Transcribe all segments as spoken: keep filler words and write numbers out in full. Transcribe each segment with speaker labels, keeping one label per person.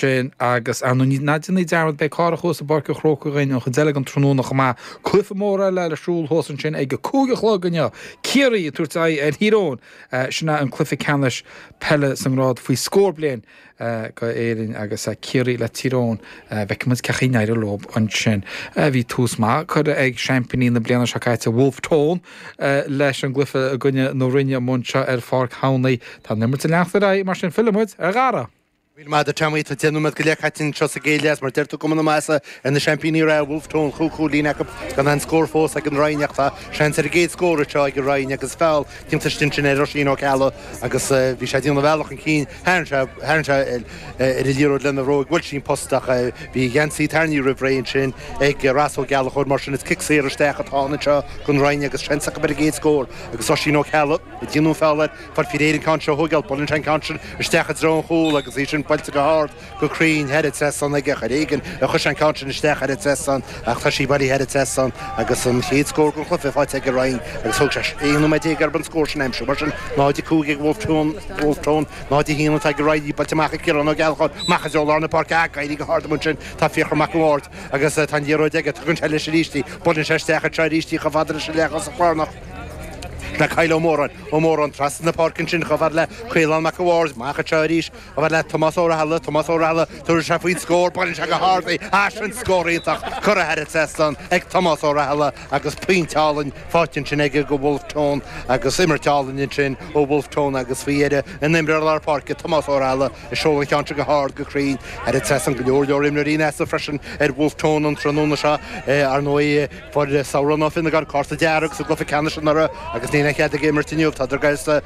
Speaker 1: Sin agus ar ndóigh ná déanaí dearmad beidh Cárthach thuas i bPáirc an Chrócaigh againn an chuid eile den tráthnóna chomh maith. Cluiche mór eile ar siúl thuas ansin ag a cúig a chlog inniu. Ciarraí ag tabhairt aghaidh ar Thír Eoghain. Sin é an cluiche ceannais peile sa ngrád faoi scór bliain go Éirinn agus Ciarraí le Tír Eoghain. Feicfidh muid cén chaoi a n-éireoidh leo ansin. Bhí tús maith curtha ag seaimpíní na bliana seo caite Wolfe Tone leis an gcluiche i gcoinne na Rinne amuigh anseo ar Pháirc Thamhnaigh. Tá an imirt ag leanacht ar aghaidh mar sin fillfidh muid ar Dhara.
Speaker 2: Míle maith agat Tommy, tá deich nóiméad go leith caite anseo sa gcéad leath, mar deir tú cuma na maitheasa ar na seaimpíní reatha Wolfe Tone, chúig chúilín acu gan aon scór fós ag an Rinn ach tá seans ar an gcéad scór anseo ag an Rinn agus feall déanta ansin ar Oisín Ó Ceallaigh agus bhí sé ag déanamh a bhealach chun cinn, tharraing sé tharraing sé ar an liathróid lena bhróig, bhuail sí an post ach bhí a gheansaí tarraingthe roimh ré ansin ag Ross Ó Gallchóir mar sin is cic saor isteach atá ann anseo don Rinn agus seans acu ar an gcéad scór agus Oisín Ó Ceallaigh ag déanamh an feall air. Fáil faoi réir an ceann seo a thógáil, buaileann sé an ceann sin isteach i dtreo an chúil agus í sin buailte go hard, go cruinn, thar an trasnán aige ach ar éigean a chuir sé an ceann sin isteach thar an trasnán ach tá sí bailithe thar an trasnán agus an chéad scór den chluiche faighte ag an Rinn agus thóg sé aon nóiméad déag orthu an scór sin a aimsiú. Mar sin, náid a cúig ag Wolfe Tone, Wolfe Tone, náid a haon atá ag an Rinn, í buailte amach ag Ciarán Ó Gallchóir, amach i dtreo lár na páirce, ag éirí go hard amuigh ansin, tá Fiachra Mac an Bhaird agus tá an liathróid aige, tugann sé leis arís í, buaileann sé isteach anseo arís í chomh fada leis an leathchosach lárnach. Le Kyle Ó Móráin, Ó Móráin trasna na páirce ansin chomh fada le Caolán Mac an Bhaird, amach anseo arís chomh fada le Tomás Ó Rathaille, Tomás Ó Rathaille, tabharfaidh sé faoin scór, buaileann sé go hard í, ah sin scór iontach curtha thar an trasnán ag Tomás Ó Rathaille agus pointe álainn faighte ansin aige go Wolfe Tone agus imirt álainn ansin ó Wolfe Tone agus faoi dheireadh an imreoir lár páirce Tomás Ó Rathaille ag seoladh an cheann seo go hard go cruinn thar an trasnán. Go leor leor imreoirí in easnamh freisin ar Wolfe Tone an tráthnóna seo ar ndóigh. Fuair Sabhran Ó Fionnagáin cárta dearg sa gcluiche ceannais anuraidh agus níl aon chead aige imirt inniu. Tá d'uireasa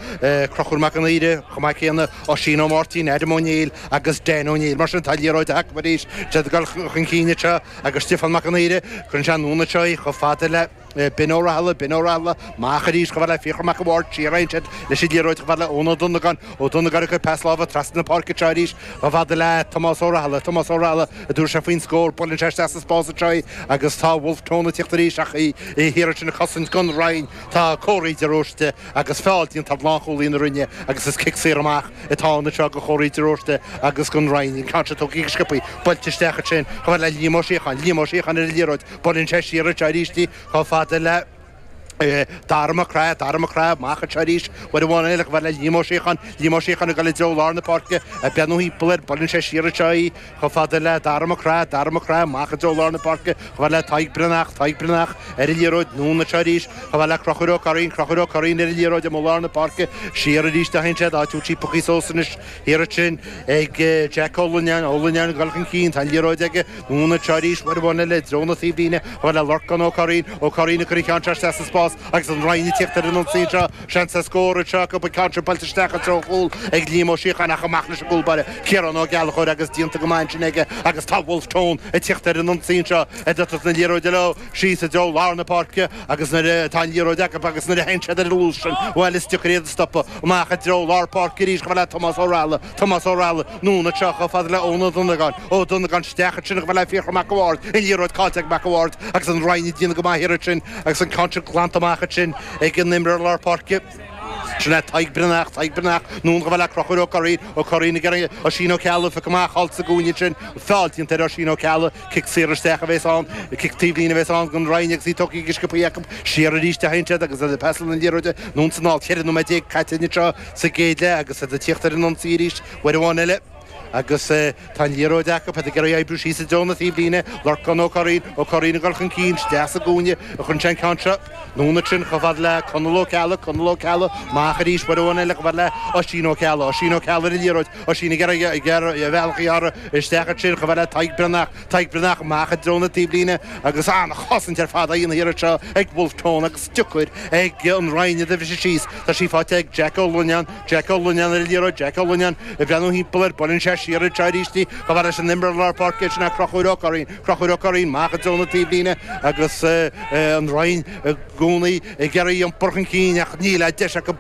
Speaker 2: Conchúr Mac an Aoire chomh maith céanna, Oisín Ó Máirtín, Adam Ó Néill agus Dan Ó Néill. Mar sin tá liathróid acu arís. Siad ag dul chun cinn anseo agus Stiofán Mac an Aoire, cuireann sé anonn anseo í chomh fada le Ben Ó Rathaille, Ben Ó Rathaille, amach arís chomh fada le Fiachra Mac an Bhaird, siar a théann siad leis an liathróid chomh fada le Eoin Ó Donnagáin, Ó Donnagáin ag cur pas láimhe trasna na páirce anseo arís chomh fada le Tomás Ó Rathaille, Tomás Ó Rathaille, an dtabharfaidh sé faoin scór, buaileann sé isteach sa spás anseo í agus tá Wolfe Tone ag tíocht arís ach í thiar ansin ag cosaint don Rinn. Tá Córaí de Róiste agus feall déanta ar lánchúlaí na Rinne agus is cic saor amach atá ann anseo do Chóraí de Róiste agus don Rinn. An ceann seo tógtha go sciobtha, buailte isteach ansin chomh fada le Liam Ó Síocháin, Liam Ó Síocháin ar an liathróid, buaileann sé siar anseo arís í chomh fada le. Dara Mac Craith, Dara Mac Craith, amach anseo arís, uair amháin eile, chomh fada le Liam Ó Síocháin, Liam Ó Síocháin ag dul i dtreo lár na páirce, ag breathnú thimpeall air, buaileann sé siar anseo í, chomh fada le Dara Mac Craith, Dara Mac Craith, amach i dtreo lár na páirce, chomh fada le Tadhg Breathnach, Tadhg Breathnach, ar an liathróid, anonn anseo arís, chomh fada le Conchúr Ó Curraoin, Conchúr Ó Curraoin ar an liathróid amuigh lár na páirce, siar arís a théann siad, áit a bhfuil sí pioctha suas anois thiar ansin ag Jack Ó Loinneáin, Ó Loinneáin ag dul chun cinn, tá an liathróid aige, Anonn anseo arís, uair amháin eile i dtreo na taobhlíne, chomh fada le Lorcán Ó Curraoin, Ó Curraoin ag cur an cheann seo isteach sa spás agus an Rinn ag tíocht ar an ionsaí anseo. Seans ar scór anseo acu, an ceann seo buailte isteach i dtreo an chúil ag Liam Ó Síocháin ach amach leis an gcúl báire, Ciarán Ó Gallchóir agus déanta go maith ansin aige agus tá Wolfe Tone ag tíocht ar an ionsaí anseo ag tabhairt na liathróide leo síos i dtreo lár na páirce agus nuair atá an liathróid acu agus nuair a théann siad ar an luas sin, bhuel is deacair iad a stopadh. Amach i dtreo lár páirce arís chomh fada le Tomás Ó Rathaille, Tomás Ó Rathaille, anonn anseo chomh fada le Eoin Ó Donnagáin, Ó Donnagáin isteach ansin chomh fada le Fiachra Mac a' Bhaird, an liathróid caillte ag Mac a' Bhaird agus an Rinn ag déanamh go maith thiar ansin agus an ceann sin glanta amach ansin ag an imreoir lár páirce. Sin é Tadhg Breathnach, Tadhg Breathnach, anonn chomh fada le Conchúr Ó Curraoin, Ó Curraoin ag iarraidh Oisín Ó Ceallaigh a phiocadh amach thall sa gcúinne ansin, feall déanta ar Oisín Ó Ceallaigh, cic saor isteach a bhéas ann, cic taobhlíne a bhéas ann don Rinn agus í tógtha go sciobtha acu, siar arís a théann siad agus iad ag pasáil na liathróide anonn is anall, ceithre nóiméad déag caite anseo sa gcéad leath agus iad ag tíocht ar an ionsaí arís uair amháin eile agus tá an liathróid acu, iad ag iarraidh oibriú síos i dtreo na taobhlíne, Lorcán Ó Curraoin, Ó Curraoin ag dul chun cinn, isteach sa gcúinne a chuireann sé an ceann seo, anonn ansin chomh fada le Conall Ó Ceallaigh, Conall Ó Ceallaigh, amach arís uair amháin eile chomh fada le Oisín Ó Ceallaigh, Oisín Ó Ceallaigh ar an liathróid, Oisín ag iarraidh ag iarraidh a bhealach a ghearradh isteach ansin chomh fada le Tadhg Breathnach, Tadhg Breathnach amach i dtreo na taobhlíne agus an-chosaint ar fad á dhéanamh thiar anseo ag Wolfe Tone agus deacair ag an Rinn iad a bhriseadh síos. Tá sí faighte ag Jack Ó Loinneáin, Jack Ó Loinneáin ar an liathróid, Jack Ó Loinneáin ag breathnú thimpeall air, buaileann sé siar anseo arís í chomh fada leis an imreoir lár páirce, sin é Conchúr Ó Curraoin, Conchúr Ó Curraoin amach i dtreo na taobhlíne agus an Rinn i gcónaí ag iarraidh iompar chun cinn ach níl a deis acu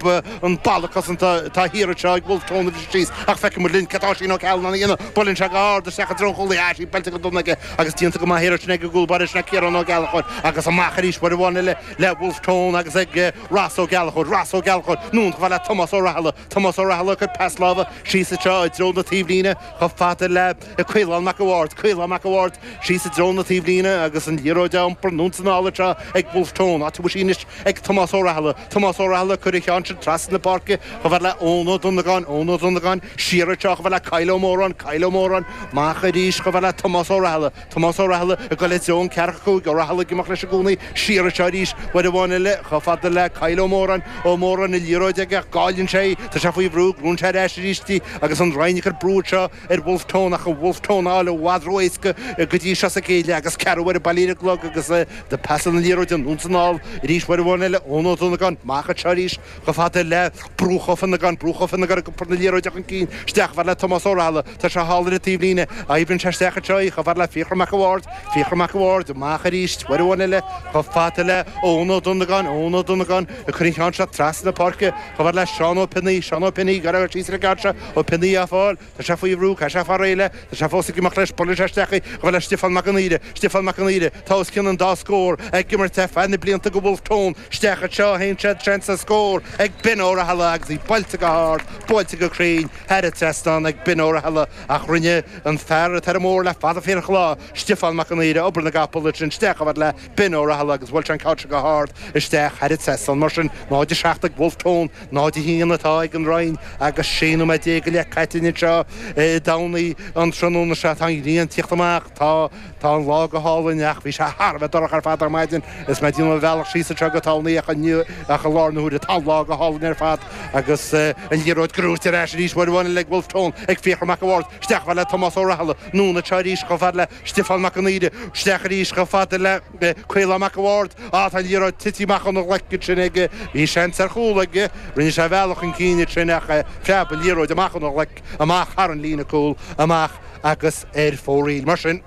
Speaker 2: an balla cosanta atá thiar anseo ag Wolfe Tone a bhriseadh síos ach feicfidh muid linn cad tá Oisín Ó Ceallaigh in ann a dhéanamh. Buaileann sé go hard isteach i dtreo an chúil, tá sí buailte go dona aige agus déanta go maith thiar ansin ag an gcúl báire, sin é Ciarán Ó Gallchóir agus amach arís uair amháin eile le Wolfe Tone agus ag Ross Ó Gallchóir, Ross Ó Gallchóir, anonn chomh fada le Tomás Ó Rathaille, Tomás Ó Rathaille ag cur pas láimhe síos anseo i dtreo na taobhlíne. taobhlíne chomh fada le Caolán Mac an Bhaird, Caolán Mac an Bhaird síos i dtreo na taobhlíne agus an liathróid á iompar anonn is anall anseo ag Wolfe Tone, áit a bhfuil sí anois ag Tomás Ó Rathaille, Tomás Ó Rathaille ag cur an cheann sin trasna na páirce chomh fada le Eoin Ó Donnagáin, Eoin Ó Donnagáin siar anseo chomh fada le Kyle Ó Móráin, Kyle Ó Móráin amach arís chomh fada le Tomás Ó Rathaille, Tomás Ó Rathaille ag dul i dtreo an ceathracha cúig, Ó Rathaille ag imeacht leis i gcónaí siar anseo arís uair amháin eile chomh fada le Kyle Ó Móráin, Ó Móráin an liathróid aige ach cailleann sé í, tá sé faoi bhrú, gnóthaíonn sé ar ais arís í agus an Rinn ag cur brú anseo ar Wolfe Tone ach an Wolfe Tone á fháil i bhfad ró-éasca go dtí seo sa gcéad leath agus ceathrú uaire bailí ar an gclog agus do pas an liathróid anonn is anall arís uair amháin eile Eoin Ó Donnagáin amach anseo arís chomh fada le Brúch Ó Fionnagáin, Brúch Ó Fionnagáin ag iompar na liathróide chun cinn isteach chomh fada le Tomás Ó Rathaille, tá sé thall ar an taobhlíne, oibríonn sé isteach anseo í chomh fada le Fiachra Mac an Bhaird, Fiachra Mac an Bhaird amach arís uair amháin eile chomh fada le Eoin Ó Donnagáin, Eoin Ó Donnagáin ag cur an cheann seo trasna na páirce chomh fada le Seán Ó Pionnaí, Seán Ó Pionnaí ag iarraidh síos ar an gceann seo, Ó Pionnaí á fáil, tá sé faoi bhrú, caithfidh sé fáil réidh léi, tá sé fós ag imeacht leis, buaileann sé isteach í chomh fada le Stiofán Mac an Aoire, Stiofán Mac an Aoire, tá os cionn an dá scór ag imirt ar feadh na blianta go Wolfe Tone, isteach anseo théann siad seans ar scór ag Ben Ó Rathaille agus í buailte go hard, buailte go cruinn thar an trasnán ag Ben Ó Rathaille ach rinne an fear atá ar an mbóthar le fada fíorach lá, Stiofán Mac an Aoire, obair na gcapall ansin isteach chomh fada le Ben Ó Rathaille agus bhuail sé an ceann seo go hard isteach thar an trasnán. Mar sin, náid a seacht ag Wolfe Tone, náid a haon atá ag an Rinn agus sé nóiméad déag go leith caite anseo i dTamhnaigh an tráthnóna seo. Tá an ghrian ag tíocht amach, tá tá an lá go hálainn ach bhí sé thar a bheith dorcha ar fad ar maidin is mé ag déanamh mo bhealach síos anseo go Tamhnaigh ach inniu ach i lár na huaire tá an lá go hálainn ar fad agus an liathróid gnóthaithe ar ais arís uair amháin eile ag Wolfe Tone ag Fiachra Mac an Bhaird isteach chomh fada le Tomás Ó Rathaille anonn anseo arís chomh fada le Stiofán Mac an Aoire isteach arís chomh fada le Caolán Mac an Bhaird á tá an liathróid tite amach óna ghlaic ansin aige bhí seans ar chúl aige rinne sé a bhealach chun cinn ansin ach phreab an liathróid amach óna ghlaic amach thar an líne cúil amach agus ar fóraoil mar sin.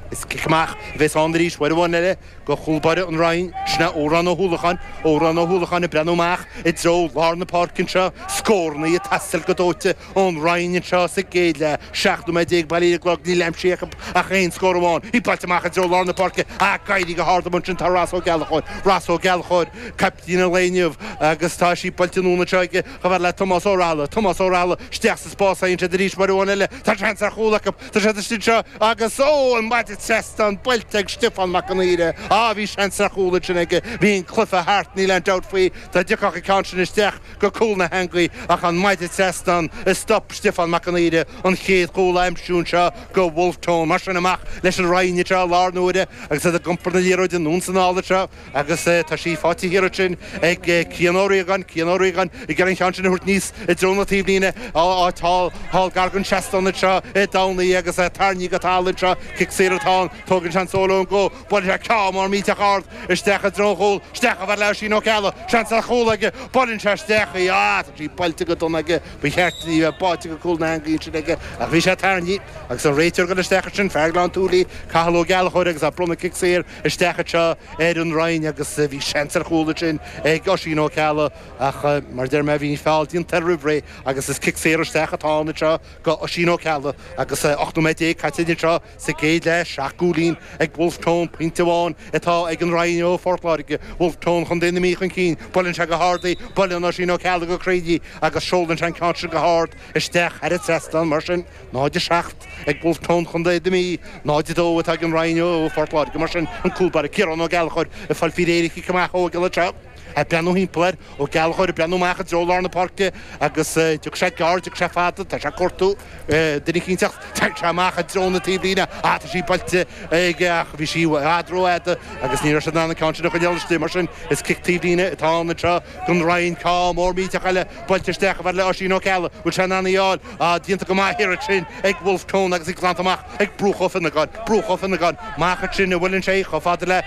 Speaker 2: Is cic amach a bheas ann arís uair amháin eile go chúl báire an Rinn, sin é Odhrán Ó hUallacháin, Odhrán Ó hUallacháin ag breathnú amach i dtreo lár na páirce anseo, scóranna ag teastáil go dóite ón Rinn anseo sa gcéad leath, seacht nóiméad déag bailí ar an gclog, níl aimsithe acu ach aon scór amháin. Í buailte amach i dtreo lár na páirce ach ag éirí go hard amuigh ansin tá Ross Ó Gallchóir, Ross Ó Gallchóir, caiptín an lae inniu agus tá sí buailte anonn anseo aige chomh fada le Tomás Ó Rathaille, Tomás Ó Rathaille isteach sa spás a théann siad arís uair amháin eile, tá seans ar chúl acu, tá siad istigh anseo agus ó, an maide trasnán buailte ag Stiofán Mac an Aoire. Á, bhí seans ar chúl ansin aige, bhí an cluiche thart, níl aon dabht faoi, dá dtiocfadh an ceann sin isteach go cúl na heangaí ach an maide trasnán a stop Stiofán Mac an Aoire an chéad chúl a aimsiú anseo go Wolfe Tone. Mar sin amach leis an Rinn anseo i lár na huaire agus iad ag iompar na liathróide anonn is anall anseo agus tá sí faighte thiar ansin ag Cian Ó Riagáin, Cian Ó Riagáin ag iarraidh an ceann sin a thabhairt aníos i dtreo na taobhlíne, áit thall, thall gar don seastán anseo i dTamhnaigh agus é tarraingthe go talamh anseo, cic saor atá ann, tógann sé an seoladh ón gcó, buaileann sé ceann mór millteach ard isteach i dtreo an chúil, isteach chomh fada le Oisín Ó Ceallaigh, seans ar chúl aige, buaileann sé isteach í, ah, tá sí buailte go dona aige, ba cheart di a bheith báite go cúl na heangaí ansin aige ach bhí sé tarraingthe agus an réiteoir ag dul isteach ansin, fear Ghleann tSúilí, Cathal Ó Gallchóir agus á bronnadh cic saor isteach anseo ar an Rinn agus bhí seans ar chúl ansin ag Oisín Ó Ceallaigh ach mar a deir mé bhí an feall déanta roimh ré agus is cic saor isteach atá ann anseo go Oisín Ó Ceallaigh agus ocht nóiméad déag caite anseo sa gcéad leath, seacht gcúilín ag Wolfe Tone, pointe amháin atá ag an Rinn ó Phort Láirge, Wolfe Tone Chontae na Mí chun cinn, buaileann sé go hard í, buaileann Oisín Ó Ceallaigh go cruinn í agus seolann sé an ceann sin go hard isteach thar an trasnán. Mar sin, náid a seacht ag Wolfe Tone Chontae na Mí, náid a dó atá ag an Rinn ó Phort Láirge. Mar sin, an cúl báire Ciarán Ó Gallchóir ag fáil faoi réir an chic amach a thógáil anseo. Ag breathnú thimpeall air, Ó Gallchóir ag breathnú amach i dtreo lár na páirce agus tiocfaidh sé gearr, tiocfaidh sé fada, tá sé ag cuartú duine eicínt ach téann sé amach i dtreo na taobhlíne. Ah, tá sí buailte aige ach bhí sí i bhfad rófhada agus ní raibh sé in ann an ceann sin a choinneáil istigh. Mar sin, is cic taobhlíne atá ann anseo don Rinn. Ceann mór millteach eile buailte isteach chomh fada le Oisín Ó Ceallaigh. Bhfuil sé in ann í a fháil? Ah, déanta go maith thiar ansin ag Wolfe Tone agus í glanta amach ag Brúch Ó Fionnagáin. Brúch Ó Fionnagáin amach ansin a bhuaileann sé chomh fada le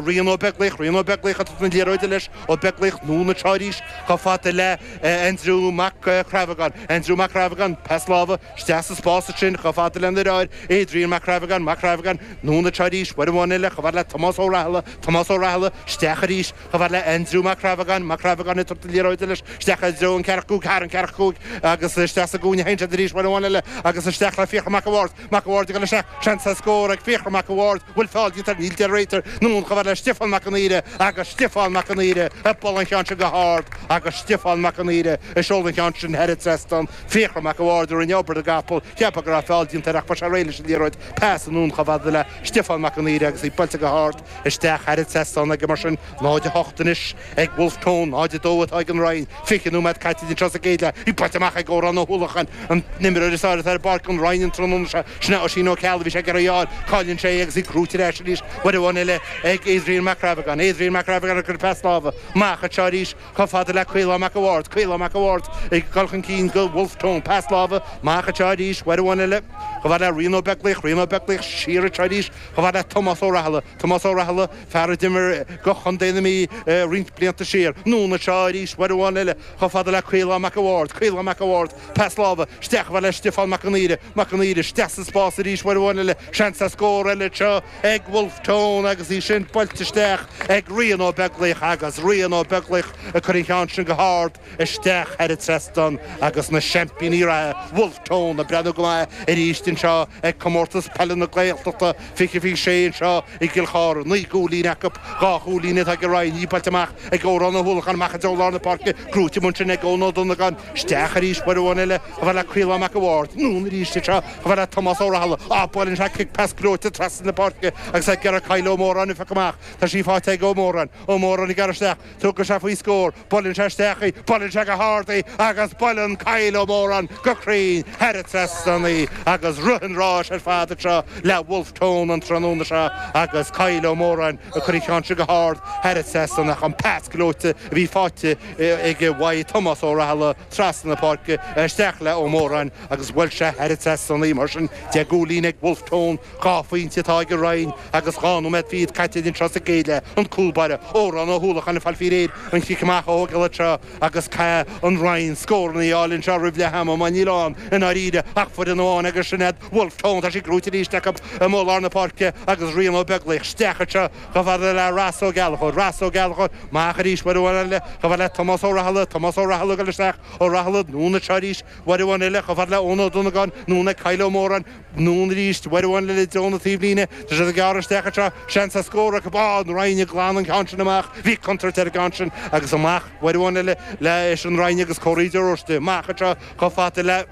Speaker 2: Rian Ó Beaglaoich. Rian Ó Beaglaoich atá na liathróide leis. Ó Beaglaoich anonn anseo arís chomh fada le Aindriú Mac Crabhagáin. Aindriú Mac Crabhagáin, pas láimhe isteach sa spás ansin chomh fada lena dheartháir Adrian Mac Crabhagáin. Mac Crabhagáin anonn anseo arís uair amháin eile chomh fada le Tomás Ó Rathaille. Tomás Ó Rathaille isteach arís chomh fada le Aindriú Mac Crabhagáin. Mac Crabhagáin ag tabhairt na liathróide leis isteach i dtreo an ceathracha cúig, thar an ceathracha cúig agus isteach sa gcúinne a théann siad arís uair amháin eile agus isteach le Fiachra Mac an Bhaird. Mac an Bhaird ag dul isteach, seans ar scór ag Fiachra Mac an Bhaird. Bhfuil feall déanta air? Níl, deir an réiteoir. Anonn chomh fada le Stiofán Mac an Aoire agus Stiofán Mac an Aoire Ag bualadh an cheann sin go hard agus Stiofán Mac an Aoire ag seoladh an cheann sin thar an trasnán. Fiachra Mac a' Bhaird a rinne obair na gcapall. Cheapfá go raibh feall déanta air ach fuair sé réidh leis an liathróid. Pas anonn chomh fada le Stiofán Mac an Aoire agus í buailte go hard isteach thar an trasnán aige mar sin. náid a hocht anois ag Wolfe Tone, náid a dó atá ag an Rinn. Fiche nóiméad caite anseo sa gcéad leath. Í buailte amach ag Odhrán Ó hUallacháin, an t-imreoir is fearr atá ar bpáirc an Rinn an tráthnóna seo. Sin é Oisín Ó Ceallaigh, bhí sé ag iarraidh í a fháil. Cailleann sé í agus í gnóite ar ais arís uair amháin eile ag Adrian Mac Rabhagáin. Adrian Mac Rabhagáin ag cur pas láimhe amach anseo arís chomh fada le Caolán Mac a' Bhaird. Caolán Mac a' Bhaird ag dul chun cinn go Wolfe Tone. Pas láimhe amach anseo arís uair amháin eile chomh fada le Rian Ó Beaglaoich. Rian Ó Beaglaoich siar anseo arís chomh fada le Tomás Ó Rathaille. Tomás Ó Rathaille, fear a d'imir go Chontae na Mí roinnt blianta siar. Anonn anseo arís uair amháin eile chomh fada le Caolán Mac a' Bhaird. Caolán Mac a' Bhaird, pas láimhe isteach chomh fada le Stiofán Mac an Aoire. Mac an Aoire isteach sa spás arís uair amháin eile. Seans ar scór eile anseo ag Wolfe Tone agus í sin buailte isteach ag Rian Ó Beaglaoich agus Rian Ó Beaglaoich ag cur an cheann sin go hard isteach thar an trasnán agus na seaimpíní reatha Wolfe Tone ag breathnú go maith arís anseo ag Comórtas Peile na Gaeltachta fiche fiche sé anseo i gCill Chartha. Naoi gcúilín acu, dhá chúilín atá ag an Rinn, í buailte amach ag Odhrán Ó hUallacháin amach i dtreo lár na páirce, gnóite amuigh ansin ag Eoin Ó Donnagáin, isteach arís uair amháin eile chomh fada le Caolán Mac a' Bhaird, anonn arís anseo chomh fada le Tomás Ó Rathaille, á buaileann sé cic pas gleoite trasna na páirce agus ag iarraidh Kyle Ó Móráin a phiocadh amach. Tá sí faighte ag Ó Móráin. Ó Móráin ag gearradh isteach. Tugann sé faoi scór. Buaileann sé isteach í. Buaileann sé go hard í agus buaileann Kyle Ó Móráin go cruinn thar an trasnán í agus rith an ráis ar fad anseo le Wolfe Tone an tráthnóna seo agus Kyle Ó Móráin ag cur an cheann sin go hard thar an trasnán ach an pas gleoite a bhí faighte aige uaidh Tomás Ó Rathaille trasna na páirce isteach le Ó Móráin agus bhuail sé thar an trasnán í. Mar sin deich gcúilín ag Wolfe Tone, dhá phointe atá ag an Rinn agus dhá nóiméad fichead caite anseo sa gcéad leath. An cúl báire, Odhrán Ó hUallacháin ag fáil faoi réir an chic amach a thógáil anseo agus caithfidh an Rinn scóranna a fháil anseo roimh leath ama má níl ann i ndáiríre ach foireann amháin agus sin iad Wolfe Tone. Tá sí gnóite arís acu amuigh i lár na páirce agus Rian Ó Beaglaoich isteach anseo chomh fada le Ross Ó Gallchóir. Ross Ó Gallchóir amach arís uair amháin eile chomh fada le Tomás Ó Rathaille. Tomás Ó Rathaille ag dul isteach. Ó Rathaille anonn anseo arís uair amháin eile chomh fada le Eoin Ó Donnagáin. Anonn ag Kyle Ó Móráin. Anonn arís uair amháin eile i dtreo na taobhlíne. Tá siad ag gearradh isteach anseo. Seans ar scór acu. Á, an Rinn ag glanadh an ceann sin amach. Bhí contúirt ar an gceann sin agus amach uair amháin eile leis an Rinn agus Córaí de Róiste. Amach anseo chomh fada le.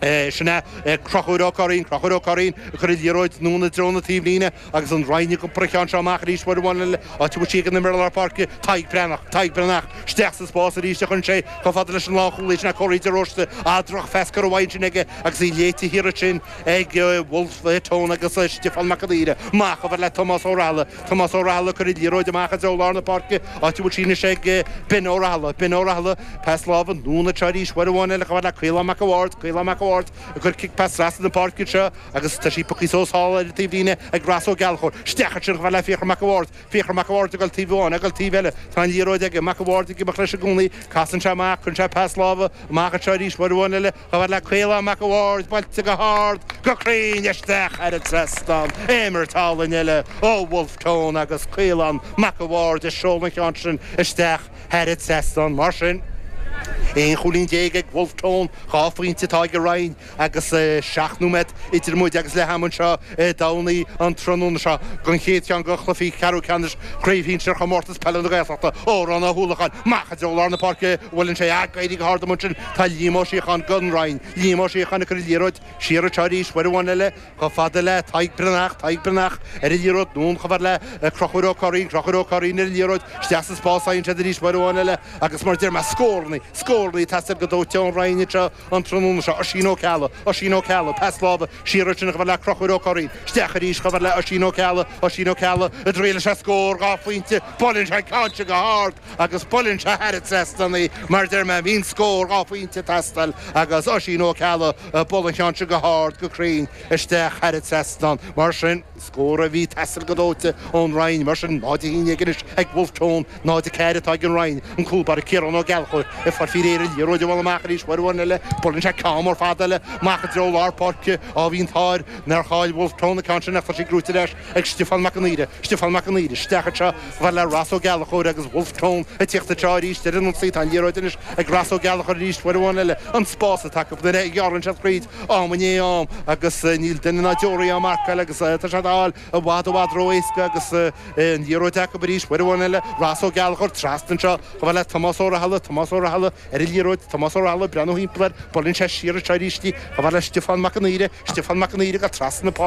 Speaker 2: Sin é Conchúr Ó Curraoin, Conchúr Ó Curraoin ag cur an liathróid anonn i dtreo na taobhlíne agus an Rinn ag iompar an cheann seo amach arís uair amháin eile, áit a bhfuil sí ag an imreoir lár páirce, Tadhg Breathnach, Tadhg Breathnach isteach sa spás arís a chuireann sé chomh fada leis an lánchúlaí, sin é Córaí de Róiste, ah drochphas curtha uaidh ansin aige agus í léite thiar ansin ag Wolfe Tone agus Stiofán Mac an Aoire. Amach chomh fada le Tomás Ó Rathaille, Tomás Ó Rathaille ag cur an liathróid amach i dtreo lár na páirce, áit a bhfuil sí anois ag Ben Ó Rathaille, Ben Ó Rathaille, pas láimhe anonn anseo arís uair amháin eile chomh fada le Caolán Mac a' Bhaird, Caolán Mac a' Bhaird ag cur cic pas trasna na páirce anseo agus tá sí pioctha suas thall ar an taobhlíne ag Ross Ó Gallchóir. Isteach ansin chomh fada le Fiachra Mac a' Bhaird, Fiachra Mac a' Bhaird ag dul taobh amháin, ag dul taobh eile. Tá an liathróid aige, Mac a' Bhaird ag imeacht leis i gcónaí. Casann sé amach, cuireann sé pas láimhe amach anseo arís uair amháin eile chomh fada le Caolán Mac a' Bhaird, buailte go hard, go cruinn isteach thar an trasnán. Imirt álainn eile ó Wolfe Tone agus Caolán Mac a' Bhaird ag seoladh an cheann sin isteach thar an trasnán. Mar sin, aon chúilín déag ag Wolfe Tone, dhá phointe atá ag an Rinn agus seacht nóiméad idir muid agus leath ama anseo i dTamhnaigh an tráthnóna seo don chéad cheann de chluichí ceathrú ceannais Chraobh Shinsir Chomórtas Peile na Gaeltachta. Odhrán Ó hUallacháin amach i dtreo lár na páirce, buaileann sé ag éirí go hard amuigh ansin. Tá Liam Ó Síocháin don Rinn. Liam Ó Síocháin ag cur an liathróid siar anseo arís uair amháin eile chomh fada le Tadhg Breathnach, Tadhg Breathnach ar an liathróid anonn chomh fada le Conchúr Ó Curraoin, Conchúr Ó Curraoin ar an liathróid isteach sa spás faigheann siad arís uair amháin eile agus mar a deir mé scórannaí, scórannaí ag teastáil go dóite ón Rinn anseo an tráthnóna seo. Oisín Ó Ceallaigh, Oisín Ó Ceallaigh, pas láimhe siar ansin chomh fada le Conchúr Ó Curraoin, isteach arís chomh fada le Oisín Ó Ceallaigh, Oisín Ó Ceallaigh ag triail leis an scór, dhá phointe, buaileann sé an ceann sin go hard agus buaileann sé thar an trasnán í, mar a deir mé, bhí an scór dhá phointe ag teastáil agus Oisín Ó Ceallaigh ag bualadh an cheann sin go hard, go cruinn isteach thar an trasnán. Mar sin, scór a bhí ag teastáil go dóite ón Rinn. Mar sin, náid a haon déag anois ag Wolfe Tone, náid a ceathair atá ag an Rinn. An cúl báire Ciarán Ó Gallchóir ag fáil faoi réir. léir an liathróid a bhualadh amach arís uair amháin eile. Buaileann sé ceann mór fada eile amach i dtreo lár páirce. Á bhí an t-ádh air nár chaill Wolfe Tone an ceann sin ach tá sí gnóite ar ais ag Stiofán Mac an Aoire. Stiofán Mac an Aoire isteach anseo chomh fada le Ross Ó Gallchóir agus Wolfe Tone ag tíocht anseo arís ar an ionsaí. Tá an liathróid anois ag Ross Ó Gallchóir arís uair amháin eile. An spás atá acu nuair a ghearrann siad fríd am i ndiaidh am agus níl duine ná deoraí á marcáil agus tá siad á fháil i bhfad i bhfad ró-éasca agus an liathróid acu arís uair amháin eile. Ross Ó Gallchóir trasna anseo chomh fada le Tomás Ó Rathaille, Tomás Ó Rathaille ar an liathróid, Tomás Ó Rathaille ag breathnú thimpeall air, buaileann sé siar anseo arís í chomh fada le Stiofán Mac an Aoire, Stiofán Mac an Aoire ag dul trasna na páirce.